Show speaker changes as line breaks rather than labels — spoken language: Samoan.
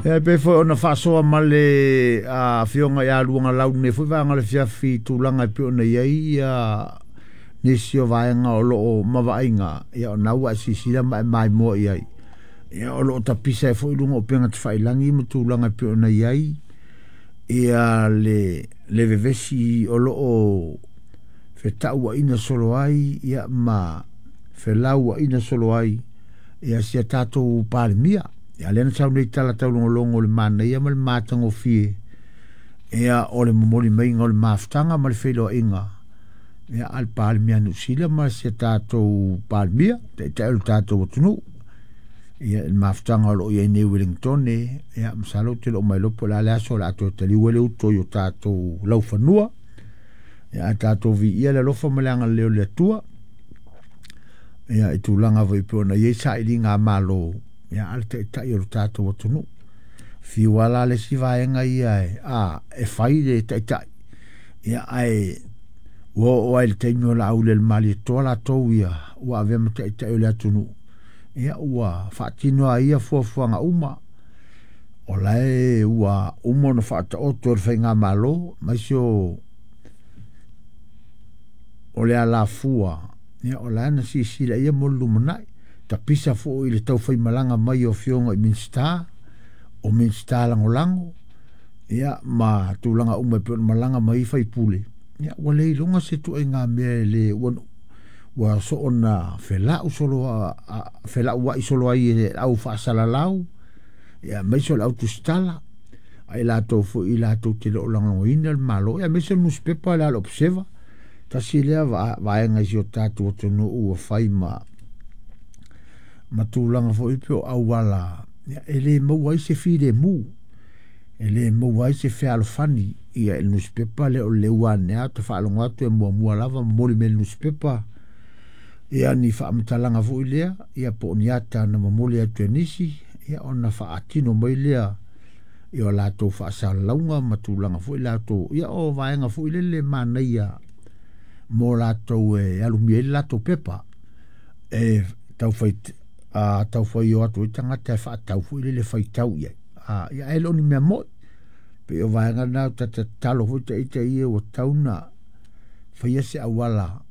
E pei foi ona faasoa ma le afioga ia Luagalau i lenei foi vaega o le afiafi i tulaga e pei ona i ai ia nisi o vaega o lo o mavaaiga, ia o lena ua e silasila ma e maimoa i ai. Ia o lo o tapisa ai foi luga o upega tafailagi ma tulaga e pei ona i ai ia le vevesi o lo o fetauaina solo ai ia ma felauaina solo ai ia si a tatou Palemia. Ia lea na sau nei tala taulogologo o le manaia ma le matagofie ia o le momoli maiga o le mafutaga ma le feiloaiga ia a le Palemia a Niu Sila ma si a tatou Palemia, taitai o le tatou atunuu. Ia le mafutaga o lo o i ai nei i Wellingtone, ia masalo ou te le o mailoa po o le a le aso o le a toe taliu ai le uto i o tatou laufanua. Ia ae tatou viia le alofa ma le agalelei o le Atua. Ia i tulaga foi pei ona i ai sailiga a Malo, ia a le taitai o le tatou atunuu. Fiu lava la le isi vaega ia e fai le taitai, ia ae ua oo lava i le taimi o Laauli o le Malietoa latou ia ua avea ma taitai o le atunuu, ia ua faatino lava ia fuafuaga uma. O la e ua uma ona faataoto e le Faigamalo, aemaise o le alafua, ia o la na silasila ia mo le lumanai. Tapisa foi i le taufaimalaga mai o afioga i Minisita, o Minisita Lagolago, ia ma tulaga uma e pei ona malaga mai ai faipule, ia ua le iloga se ituaiga mea e le ua, ua soona felau solo felauai solo ai e le au faasalalau, ia aemaise o le au tusitala, a i latou foi latou te le o lagolagoina le Malo, ia aemaise o le nusipepa lea a le Observer. Tasi lea vaega i si o tatou atunuu ua fai ma tulaga foi pei o auala e le maua ai se filemu, e le maua ai se fealofani ia i le nusipepa lea o le Leuanea. Ou te faalogo atu e muamua lava momoli mai e le nusipepa ia ni faamatalaga foi lea, ia po o ni ata na momoli atu e nisi, ia ona faatino mai lea i o latou faasalalauga ma tulaga foi latou, ia o vaega foi lele manaia mo latou e alumia ai le latou pepa e taufai taufai o atu ai tagata e faatau foi lele faitau i ai. Ia ae le o ni mea moi. Pei o vaega na ta tatalo foi ta ita ia ua tau na faia se auala.